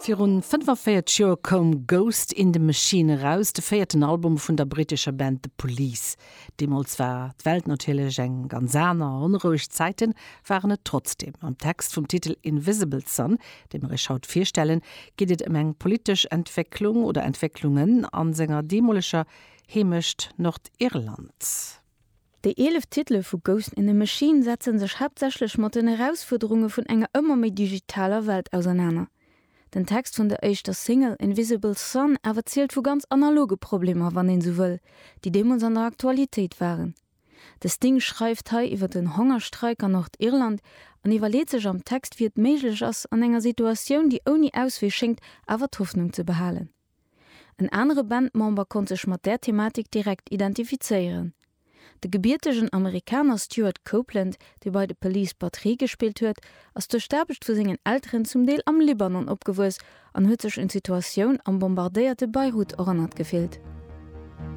Virun 45 Joer koum Ghost in the Machine eraus, de véierten Album vun der brittescher Band The Police. Deemools war d'Welt natierlech eng ganz aner, onroueg Zäiten waren et trotzdeem. Am Text vum Titel Invisible Sun, dee mer iech haut virstellen, geet et ëm eng politesch Entwécklung oder Entwécklungen a senger deemoleger Heemecht Nordirland. Déi 11 Titele vu Ghost in the Machine setze sech haaptsächlech mat den Erausfuerderunge vun enger ëmmer méi digitaler Welt ausernaner. Den Text vun der éischter Single Invisible Sun awer zielt vu ganz analoge Problemer, wann een sou wëll, déi deemools an der Aktualitéit waren. De Sting schreift hei iwwer den Hongerstreik an Nordirland an iwwerleet sech am Text, wéi et méiglech ass, an enger Situatioun, déi ouni Auswee schéngt, awer d'Hoffnung ze behalen. En anere Bandmember konnt sech mat där Thematik direkt identifizéieren. De gebiertegen Amerikaner Stewart Copeland, dee bei The Police Batterie gespillt huet, ass duerch d'Aarbecht vu sengen Elteren zum Deel am Libanon opgewuess an huet sech un d'Situatioun am bombardéierte Beirut erënnert gefillt.